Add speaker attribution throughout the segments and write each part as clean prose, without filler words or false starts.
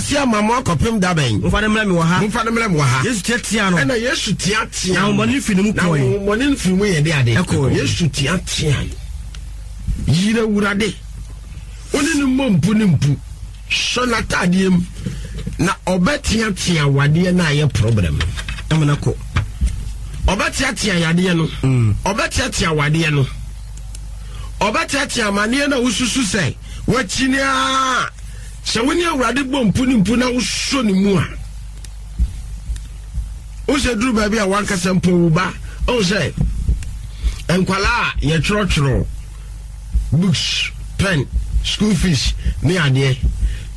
Speaker 1: ase ama mo akɔpem da bɛn?
Speaker 2: Momfa no mmrɛ me wɔ ha.
Speaker 1: Momfa no mmrɛ me wɔ ha.
Speaker 2: Yesu teateaa no.
Speaker 1: Ɛna Yesu teateaa
Speaker 2: Na
Speaker 1: no.
Speaker 2: ahonhommɔne no firi ne mu
Speaker 1: Na
Speaker 2: kɔe.
Speaker 1: ahonhommɔne no firi mu yɛ de ade.
Speaker 2: Ɛkɔe.
Speaker 1: Yesu teateaa no. Yere Awurade. Wo ne no mmɔ mpu ne mpu. Sɔ n'ataadeɛ mu. Na ɔbɛteatea wadeɛ no a ɛyɛ problem no.
Speaker 2: Ama no akɔ.
Speaker 1: Ɔbɛteatea yadeɛ no. Ɔbɛteatea wadeɛ no. Ɔbɛteatea amaneɛ no a wosusu sɛ wakyini ara. Sɛ wo ne Awurade bɔ mpu ne mpu na wosɔ ne mu a, wosɛ duru baabi a wankasa mpo wo ba ɔhu sɛ nkwalaa a yɛtwerɛtwerɛ books, pen, school fees ne adeɛ.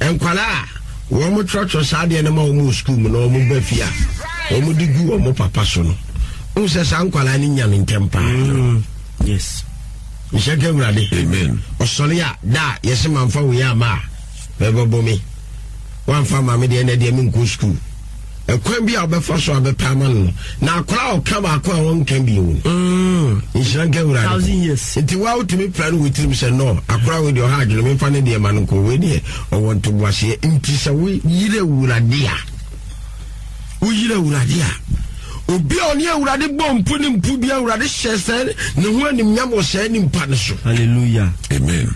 Speaker 1: Nkwalaa a wɔn twerɛtwerɛ saa adeɛ no ma wɔn wɔ school mu na wɔn ba fie a wɔn de gu wɔn papa so no, wohu sɛ saa nkwalaa no nya no ntɛm paa.
Speaker 2: Yes.
Speaker 1: Nhyɛ nka Awurade.
Speaker 3: Amen.
Speaker 1: Ɔsɔre a da a yɛsɛ mamfa wei ama a bɛbɛbɔ me. Wamfa ama me deɛ na deɛ menkɔ school. Ɛkwan bi a wobɛfa so a bɛpɛ ama no no na akora a ɔka baako a ɔnka bio no. Nhyira nka Awurade.
Speaker 2: Thousand years.
Speaker 1: Nti wa wotumi pra no wɔ tirim sɛ no akora wei deɛ ɔha adwene memfa ne deɛ ma no nkɔ wei deɛ ɔwɔ ntoboaseɛ. Nti sɛ woyere Awurade a woyere Awurade a obi a ɔne Awurade bɔ mpu ne mpu bi Awurade hyɛ sɛ ne ho animnyam wɔ saa nipa no so.
Speaker 2: Hallelujah.
Speaker 3: Amen.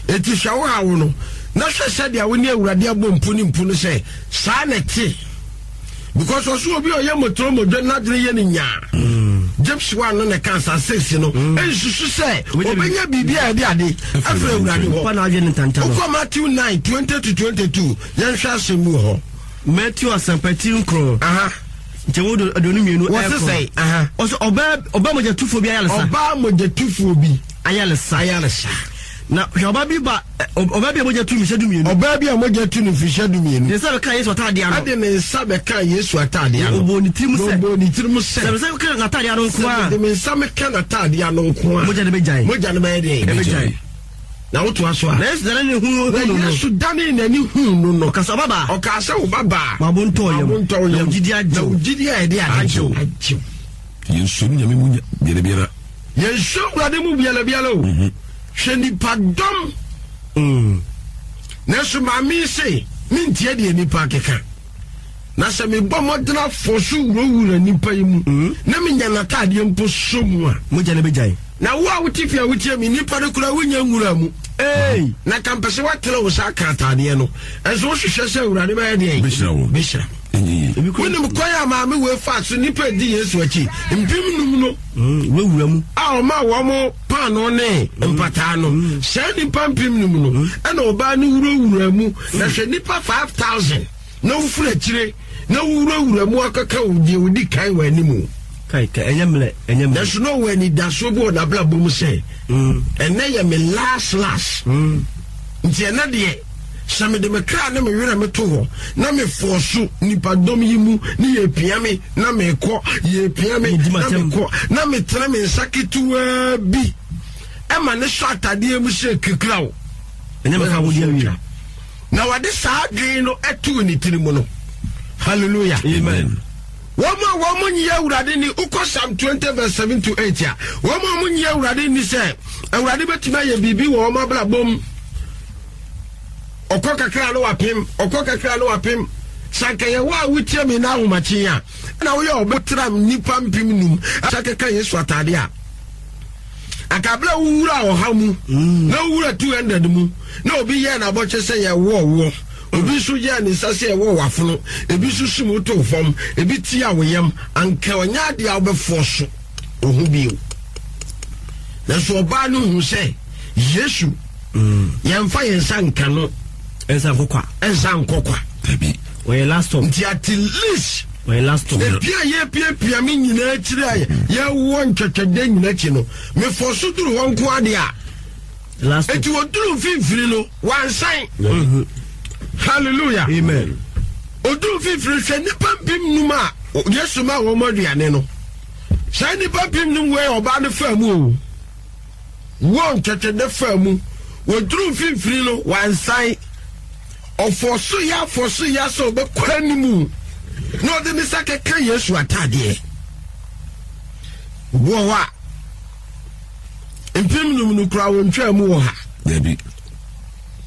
Speaker 1: Eti hwɛ wo hawo no na hwɛ sɛdeɛ wo ne Awurade abɔ mpu ne mpu no sɛ saa na ɛte because ɔso obi a ɔyɛ mɔtoro mɔdwa n'adwene yɛ ne nyaa James 1 no na ɛka saa 6 no ɛnsusu sɛ ɔbɛnya biribi a ɛde ade afiri Awurade hɔ.
Speaker 2: Nipa na adwene ntanta no.
Speaker 1: Wokɔ Matthew 9 20 to 22 yɛnhwɛ asɛm bi wɔ hɔ.
Speaker 2: Matthew asɛmpa ti nkron.
Speaker 1: Aha.
Speaker 2: Nkyɛmu 22
Speaker 1: Wɔse
Speaker 2: ɛkron.
Speaker 1: sɛn? Aha.
Speaker 2: Ɔsɛ ɔbaa ɔbaa mogyatufoɔ bi ayaresa.
Speaker 1: Ɔbaa mogyatufoɔ bi
Speaker 2: Ayaresa.
Speaker 1: ayaresa.
Speaker 2: Na hwɛ ɔbaa bi ba ɛ, ɔbaa bi a mogya tu mfehyia 12.
Speaker 1: Ɔbaa bi a mogya tu no mfehyia 12.
Speaker 2: De ne nsa bɛkaa Yesu ataadeɛ ano.
Speaker 1: Ɛde ne nsa bɛkaa Yesu ataadeɛ ano.
Speaker 2: Na ɔbɔɔ ne tirim sɛ.
Speaker 1: Na ɔbɔɔ ne tirim sɛ.
Speaker 2: Sɛ me nsa ka n'ataadeɛ ano nko
Speaker 1: Sɛ
Speaker 2: a.
Speaker 1: mede me nsa meka n'ataadeɛ ano nko a.
Speaker 2: Mogya no bɛgyae.
Speaker 1: Mogya no bɛyɛ deɛ?
Speaker 2: Ɛbɛgyae.
Speaker 1: Na wotoa so a.
Speaker 2: Na Yesu danee n'ani huu
Speaker 1: Na
Speaker 2: no no.
Speaker 1: Yesu danee n'ani huu no no.
Speaker 2: Ɔkaa sɛ, Ɔbabaa.
Speaker 1: Ɔkaa sɛ, Ɔbabaa.
Speaker 2: Ma wo bo ntɔ wo yam.
Speaker 1: Ma wo bo ntɔ wo
Speaker 2: Na
Speaker 1: yam.
Speaker 2: wo gyidie agye
Speaker 1: Na
Speaker 2: wo.
Speaker 1: wo gyidie a ɛde ade.
Speaker 2: Agye wo.
Speaker 1: Agye wo.
Speaker 3: Yɛnsuo ne Nyame mu biara biara.
Speaker 1: Yɛnsuo Awurade mu biara biara o. Hwɛ nipadɔm. Nanso maame yi se, mentie deɛ nnipa keka. Na sɛ mebɔ mmɔden afɔ so wurawura nnipa yi mu, na menya n'ataadeɛ mpo sɔ mu a.
Speaker 2: Mogya no bɛgyae.
Speaker 1: Na wo a wote fie a wotie me, nnipa no koraa wonya nwura mu.
Speaker 2: Ei!
Speaker 1: Na ka mpɛ sɛ woatene wo nsa aka ataadeɛ no, nso wohwehwɛ sɛ Awurade bɛyɛ deɛn?
Speaker 3: Bɛhyira wo.
Speaker 1: Bɛhyira.
Speaker 3: Ɛnyɛ yie.
Speaker 1: Wonim kwan a maame wei faa so nnipa adi Yesu akyi 5000 no
Speaker 2: Wurawura mu.
Speaker 1: a ɔmaa wɔn paanoo ne mpataa no, saa nnipa 5000 no, ɛna ɔbaa no wurawura mu. Na hwɛ nnipa 5000 na wofiri akyire na wowurawura mu akɔka wo deɛ ɔdi kan wɔ anim.
Speaker 2: Kai, kai, ɛnyɛ mmerɛ, ɛnyɛ mmerɛ.
Speaker 1: Nanso na ɔwɔ anidasoɔ bi wɔ n'abrabɔ mu sɛ, ɛnɛ yɛ me last last. Nti ɛnɛ deɛ, sɛ mede me kra ne me werɛ meto hɔ na mefɔɔ so nipadɔm yi mu ne yɛpia me na mekɔ, yɛpia me
Speaker 2: Medi
Speaker 1: na
Speaker 2: m'atɛm.
Speaker 1: mekɔ, na metene me nsa ketewaa bi ɛma ne sɔ atadeɛ mu sɛ kikiraw.
Speaker 2: Ɛnyɛ mɛfa wo deɛ awie.
Speaker 1: Na wɔde saa adwene no too ne tiri mu no. Hallelujah.
Speaker 2: Amen.
Speaker 1: Wɔn a wɔn nyi Awurade ni, wokɔ Psalm 20 verse 7 to 8 a, wɔn a wɔn nyi Awurade ni sɛ Awurade bɛtumi ayɛ biribi wɔ wɔn abrabɔ mu. Ɔkɔ kakra no wapem, ɔkɔ kakra no wapem. Sɛ anka yɛwɔ a wotie me na ahomakye a, na woyɛ ɔbɛtra nnipa 5000 sɛ keka Yesu atade a. Anka bere a wowura ɔha mu na wowura 200 mu na obi yɛɛ n'abɔkyɛ sɛ yɛwɔ woɔ, obi nso yɛɛ ne nsa sɛ yɛwɔ w'afono, ebi nso sum wo too fam, ebi tia wo yam, anka ɔnyɛ adeɛ a wobɛfoɔ so wo ho bio. Nanso ɔbaa no hu sɛ Yesu, yɛmfa yɛn nsa nka no.
Speaker 2: Ɛnsa nkɔ kwa.
Speaker 1: Ɛnsa nkɔ kwa.
Speaker 3: Dabi.
Speaker 2: Ɔyɛ last stop.
Speaker 1: Nti at least
Speaker 2: Ɔyɛ last stop.
Speaker 1: Ebi a yɛpiapia me nyinaa akyiri a yɛwɔ ntwɛtwɛdɛ nyinaa akyi no, mefɔ so duru hɔ nko ade a.
Speaker 2: Last stop.
Speaker 1: Eti wɔduru mfimfini no, wansan. Hallelujah.
Speaker 2: Amen.
Speaker 1: Oduru mfimfini hwɛ nnipa 5000 a Yesu ma wɔn aduane no. Saa nnipa 5000 wei ɔbaa no faa mu o. Wɔn ntwɛtwɛdɛ faa mu. Wɔduru mfimfini no, wansan. Ɔfɔ so yɛ afɔ so yɛ sɛ ɔbɛkɔ anim na ɔde ne nsa kɛka Yesu ataadeɛ. Obi wɔ hɔ a 5000 no koraa wɔntwaa mu wɔ ha.
Speaker 3: Dabi.